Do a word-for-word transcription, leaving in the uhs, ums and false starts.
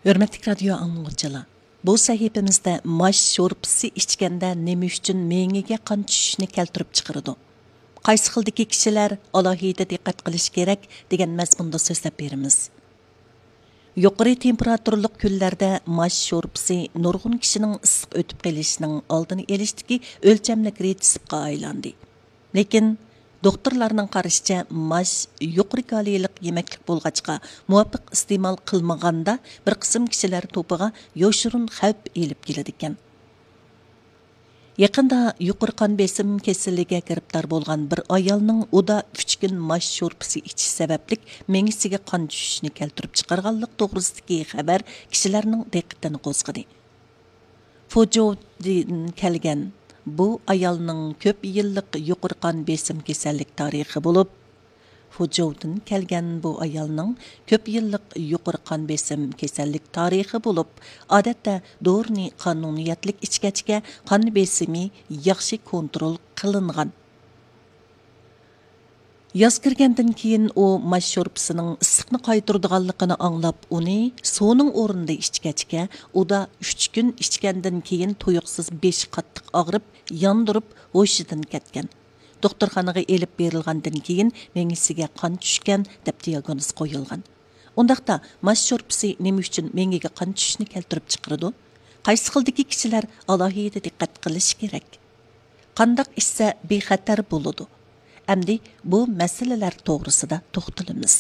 ھۆرمەتلىك رادىيو ئاڭلىغۇچىلار، بۇ سەھىپىمىزدە ماش شورپىسى ئىچكەندە نېمە ئۈچۈن مېڭىگە قان چۈشۈشنى كەلتۈرۈپ چىقىرىدۇ؟ قايسى خىلدىكى كىشىلەر ئالاھىدە دىققەت قىلىشى كېرەك دېگەن مەزمۇندا سۆزلەپ بېرىمىز. يۇقىرى تېمپېراتۇرىلىق كۈنلەردە ماش شورپىسى نۇرغۇن كىشىنىڭ ئىسسىق ئۆتۈپ قېلىشىنىڭ ئالدىنى ئېلىشتىكى ئۆلچەملىك رېتسېپقا ئايلاندى. لېكىن، دوختۇرلارنىڭ قارىشىچە، ماش يۇقىرى كالىيلىق يېمەكلىك بولغاچقا، مۇۋاپىق ئىستېمال قىلمىغاندا، بىر قىسىم كىشىلەر توپىغا يوشۇرۇن خەۋپ ئېلىپ كېلىدىكەن. يېقىندا يۇقىرى قان بېسىم كېسىلىگە گىرىپتار بولغان بىر ئايالنىڭ ئۇدا ئۈچ كۈن ماش شورپىسى ئىچىش سەۋەبلىك مېڭىسىگە قان چۈشۈشنى كەلتۈرۈپ چىقارغانلىقى توغرىسىدىكى خەۋەر كىشىلەرنىڭ دىققىتىنى قوزغىدى. فۇجوۋدىن كەلگەن بۇ ئايالنىڭ كۆپ يىللىق يۇقىرى قان بېسىم كېسەللىك تارىخى بولۇپ، فۇجوۋدىن كەلگەن بۇ ئايالنىڭ كۆپ يىللىق يۇقىرى قان بېسىم كېسەللىك تارىخى بولۇپ، ئادەتتە دورىنى قانۇنىيەتلىك ئىچكەچكە قان بېسىمى ياخشى كونترول قىلىنغان. ياز كىرگەندىن كېيىن ئۇ ماش شورپىسىنىڭ ئىسسىقنى قايتۇرىدىغانلىقىنى ئاڭلاپ، ئۇنى سۇنىڭ ئورنىدا ئىچكەچكە، ئۇدا ئۈچ كۈن ئىچكەندىن كېيىن تۇيۇقسىز بېشى قاتتىق ئاغرىپ، ياندۇرۇپ، ھوشىدىن كەتكەن. دوختۇرخانىغا ئېلىپ بېرىلغاندىن كېيىن، مېڭىسىگە قان چۈشكەن، دەپ دىياگنوز قويۇلغان. ئۇنداقتا، ماش شورپىسى نېمە ئۈچۈن مېڭىگە قان چۈشۈشنى كەلتۈرۈپ چىقىرىدۇ؟ قايسى خىلدىكى كىشىلەر ئالاھىدە دىققەت قىلىشى كېرەك؟ قانداق ئىچسە بىخەتەر بولىدۇ؟ ئەمدى بۇ مەسىلىلەر توغرىسىدا توختىلىمىز.